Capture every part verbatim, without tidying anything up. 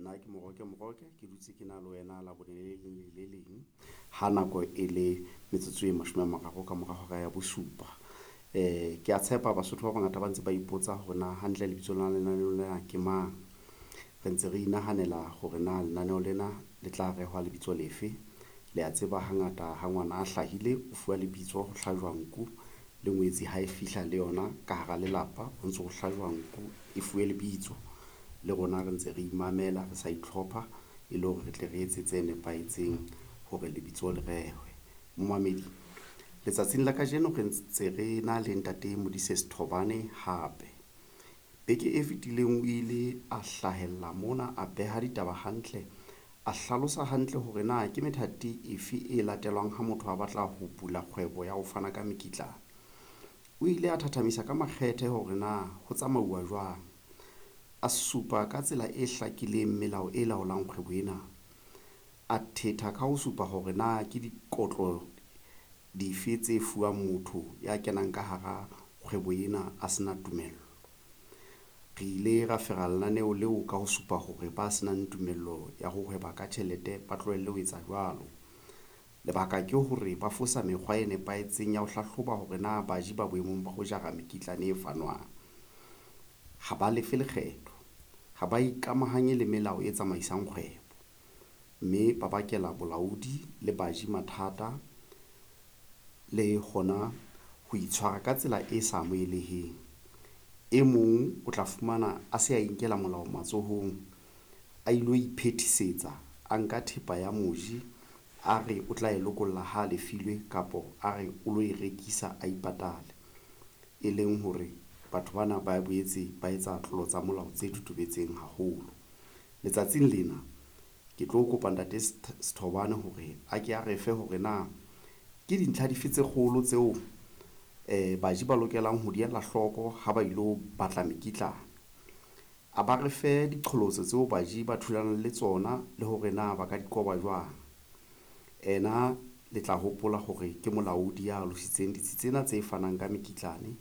Nna ke Moroke Moroke, ke dutse ke na le wena Labone le leng le le leng ha nako e le metsotso e mashome a mararo ka mora hora ya bosupa. Eh ke a tshepa Basotho ba bangata ba ntse ba ipotsa hore na hantle lebitso la lenaneo lena ke mang. Re ntse re inahanela hore na lenaneo lena le tla rehwa lebitso lefe. Le a tseba hangata ha ngwana a hlahile o fuwa lebitso, ho hlajwa nku le ngwetsi ha e fihla le yona ka hara lelapa ho ntso ho hlajwa nku e fuwe lebitso. Le rona re ntse re imamela, re sa itlhopha e le hore re tle re etse tse nepahetseng hore lebitso le rehwe. Momamedi, letsatsing la kajeno re ntse re na le Ntate Modise Sethobane hape. Beke e fetileng o ile a hlahella mona, a beha ditaba hantle, a hlalosa hantle hore na ke methati efe e latelwang ha motho a batla ho bula kgwebo ya ho fana ka mekitlane. O ile a thathamisa ka makgethe hore na ho tsamauwa jwang, a supa ka tsela e hlakileng melao e laolang kgwebo ena, a thetha ka ho supa hore na ke dikotlo dife tse fuwang motho ya kenang ka hara kgwebo ena a sena tumello. Re ile ra fera lenaneo leo ka ho supa hore ba senang tumello ya ho hweba ka tjhelete ba tlohelle ho etsa jwalo. Lebaka ke hore ba fosa mekgwa e nepahetseng ya ho hlahloba hore na baji ba boemong ba ho jara mekitlane e fanwang. Ha ba lefe lekgetho, ha ba ikamahanye le melao e tsamaisang kgwebo, mme ba bakela bolaodi le baji mathata le hona ho itshwara ka tsela e sa amoheleheng. E mong o tla fumana a se a inkela molao matsohong, a ilo iphethisetsa, a nka thepa ya moji, a re o tla e lokolla ha lefilwe kapa a re o lo e rekisa a ipatale, e leng hore batho bana ba boetse ba etsa tlolo tsa molao tse totobetseng haholo. Letsatsing lena ke tlo kopa Ntate Sethobane hore a ke a re fe hore na ke dintlha dife tse kgolo tseo baji ba lokelang ho di ela hloko ha ba ilo batla mekitlane. A ba re fe diqholotso tseo baji ba thulanang le tsona le hore na ba ka di qoba jwang. Ena le tla hopola hore ke molaodi ya alositseng ditsi tsena tse fanang ka mekitlane.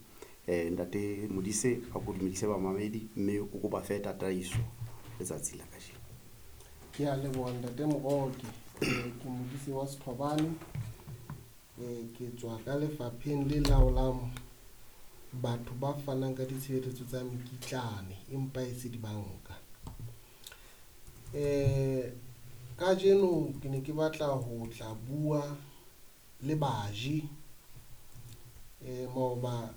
Ntate Modise, a ko dumedise bamamedi, mme o ko ba fe tataiso letsatsi la kajeno. Ke a leboha Ntate Moroke. Ke Modise wa Sethobane. Ke tswa ka lefapheng le laolang batho ba fanang ka ditshebeletso tsa mekitlane empa e se dibanka. Kajeno ke ne ke batla ho tla bua le baji. Maoba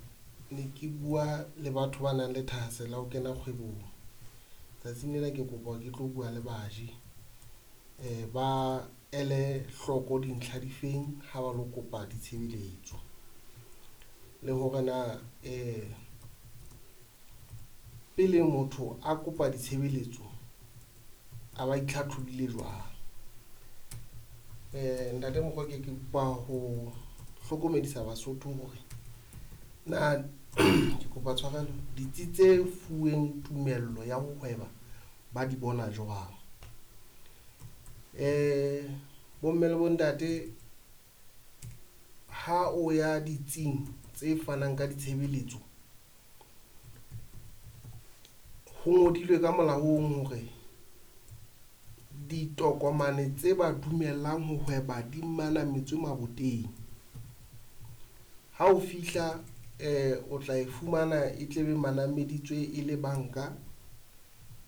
ne ke bua le batho ba nang le thahasello ya ho kena kgwebong. Tsatsing lena ke kopa ke tlo bua le baji ba ele hloko dintlha difeng ha ba lo kopa ditshebeletso, le hore na pele motho a kopa ditshebeletso a ba itlhatlhobile jwang. Ntate Moroke, ke kopa ho hlokomedisa Basotho hore na ke kopa tshwarelo, ditsi tse fuweng tumello ya ho hweba ba di bona jwang. Bomme le bontate, ha o ya ditsing tse fanang ka ditshebeletso, ho ngodilwe ka molaong hore ditokomane tse ba dumellang ho hweba di manametswe maboteng. Ha o fihla o tla e fumana e tle be manameditswe e le banka,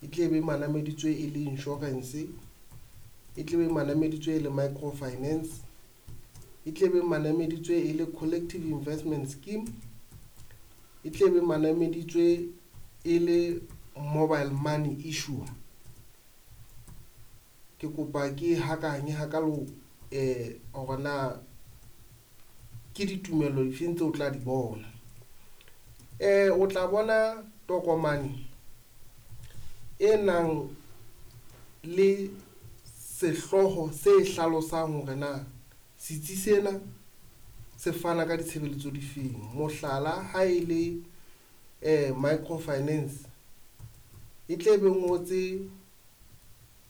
e tle be manameditswe e le insurance, e tle be manameditswe e le micro finance, e tle be manameditswe e le collective investment scheme, e tle be manameditswe e le mobile money issuer. Ke kopa ke hakanye hakalo hore na ke ditumelo difeng tseo o tla di bona. O tla bona tokomane e nang le sehlooho se hlalosang hore na setsi sena se fana ka ditshebeletso difeng. Mohlala, ha e le micro finance e tle be ngotse,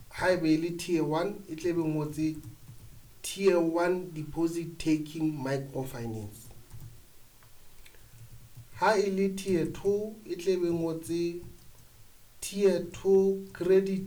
haeba e le tier one e tle be ngotse tier one deposit taking micro finance. Ha e le tier two e tle be ngotse tier two credit